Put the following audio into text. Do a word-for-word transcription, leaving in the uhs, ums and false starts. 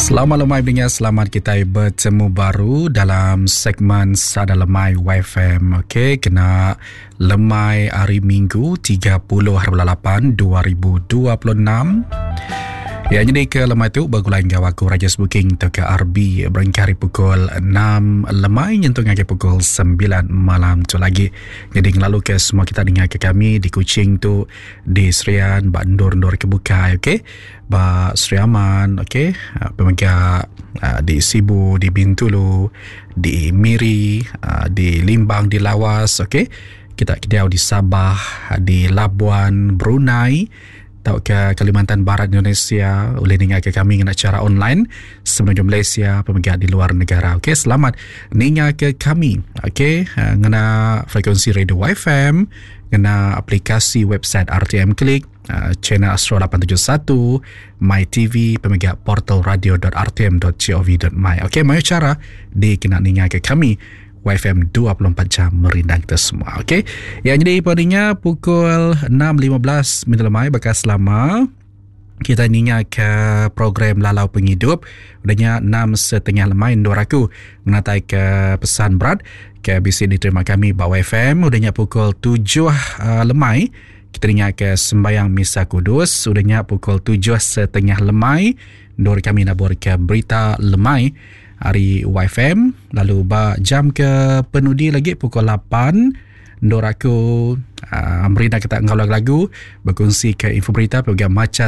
Selamat lemai pengingat, selamat kitai betemu baru dalam segmen Sada Lemai Y F M. Okey, kena lemai hari Minggu tiga puluh hari bulan lapan dua ribu dua puluh enam. Ya, jadi ke lemai tu begulai enggau aku Raja Booking atau ke R B berengkah hari pukul enam lemai nyentuk ngagai pukul sembilan malam tu lagi. Jadi ngelalu ke semua kita dengar ke kami di Kuching tu, di Serian, ba endur-endur ke bukai, okey. Ba Sri Aman, okey, ah, pemega ah, di Sibu, di Bintulu, di Miri, ah, di Limbang, di Lawas, okey. Kita diau di Sabah, di Labuan, Brunei, atau ke Kalimantan Barat Indonesia boleh dengar ke kami dengan cara online semenanjung Malaysia, pemega di luar negara. Okey, selamat ninga ke kami. Okey, uh, ngena frekuensi radio Y F M, ngena aplikasi website R T M Klik, uh, channel Astro lapan tujuh satu, My T V, pemega portal radio titik R T M titik gov titik my. Okey, mayu cara dikena ninga ke kami Y F M dua puluh empat jam merindang kita semua. Okey. Yang jadi padanya pukul enam lima belas minit lemai bekas lama kita ninga ke program Lalau Penghidup. Udahnya enam setengah lemai dua aku menatai ke pesan berat ke B C diterima kami bawa F M. Udahnya pukul tujuh uh, lemai kita ninga ke sembayang Misa Kudus. Udahnya pukul tujuh setengah lemai dua kami nabur ke berita lemai hari Y F M, lalu ba jam ke penudi lagi pukul lapan Ndor aku uh, merina kita ngau lagu-lagu, berkongsi ke info berita program maca.